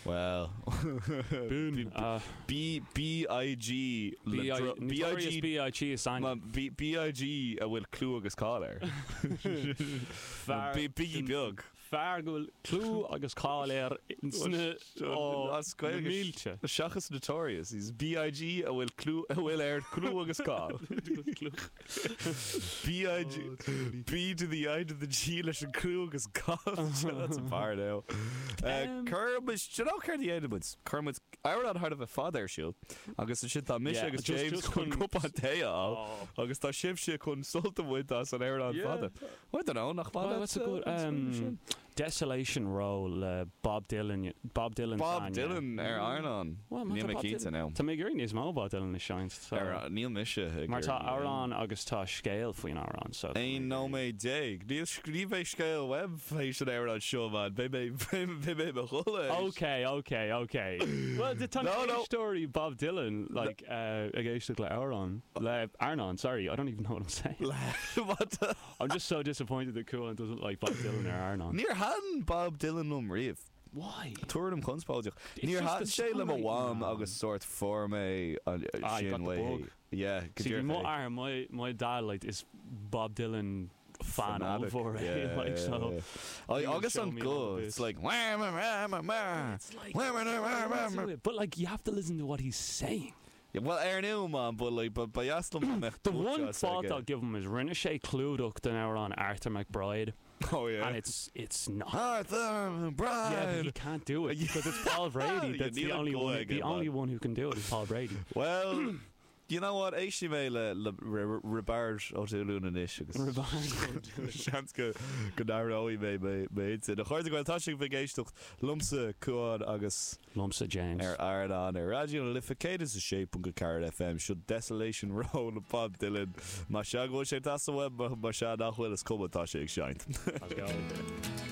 Well, B'in a. B B I G le B I dro- B I Notorious G B I G is ainm. Ma B B I G a bhfuil clú agus cáil air. Fear B Biggie beag. Fear go bhfuil clú agus cáil air sna ó As na Gaeilge mílte. seachas Notorious, he's B I G a bhfuil clú a bhfuil air clú agus cáil. B I G B to the I to the G leis an clú agus cáil. That's a bar now. Cuirfimid, do you know céard a dhéanfaidh muid? Cuirfidh muid amhrán thar a bheith fada ar siúl agus ansin tá mise Yeah, agus just- James just chun chun- cupán tae a fháil Oh. agus tá sibhse chun sult a bhaint as an amhrán Yeah. fada. I don't know, nach Well, that's a good Desolation Row le Bob Dylan, Bob Dylan Bob s'againne. Dylan ar Airneán. Well, má Níl tá mé Bob cinnte Dylan- now. Tá mé ag iarraidh níos mó Bob Dylan a seinnt. So. Ar, níl mise ag Mar tá iarraidh amhrán agus tá scéal faoin amhrán. So tá mé 11 ag iarraidh- nóiméad. Níl ní bheidh scéal uaim théis an amhrán seo, man. Beidh mé beidh mé i mo chodladh. Okay, okay, okay. Well, tá No, no. éisteoirí Bob Dylan like, uh, ag éisteacht le amhrán le Airneán, sorry, I don't even know what I'm saying. What the? I'm just so disappointed that Cuan doesn't like Bob Dylan ar Airneán. Níor thaitin Bob Dylan liom riamh. Why? Tuairim chonspóideach. It's Níor just thaitin the sé le mo songwriting, mham man. agus sórt fuair mé an Ah, you sin got the uaithi. bug. Yeah, go See, díreach mo é. athair, my, my dad, like, is Bob Dylan fan Fanatic. ollmhór é, Yeah, like, yeah, so. yeah. I, he will agus show an me all guth, the it's bits. like wah, wah, wah, wah, wah. It's like, Wah, wah, wah, wah, wah, wah. but like, you have to listen to what he's saying. Yeah, well, ar ndóigh, man, but like, but ba dheas liom go mbeadh The one dúchas fault aige. I'll give him is rinne sé clúdach den amhrán Arthur McBride, Oh yeah. and it's it's not. Arthur Yeah, but McBride. he can't do it because it's Paul Brady. Yeah, That's the níl an only guth one. aige, The man. only one who can do it is Paul Brady. Well, you know what? Éistfidh mé le le Roibeárd Ó Dúlún anois agus seans go go n-athróidh mé mé m'intinn. A chairde Gael, tá sibh ag éisteacht liomsa Cuán agus Liomsa James. ar Airneán ar Raidió na Life 106.4 FM seo Desolation Row le Bob Dylan. Más ea go bhfuil sé ag teastáil uaim, más ea nach bhfuil is cuma tá sé ag seinnt. Let's go.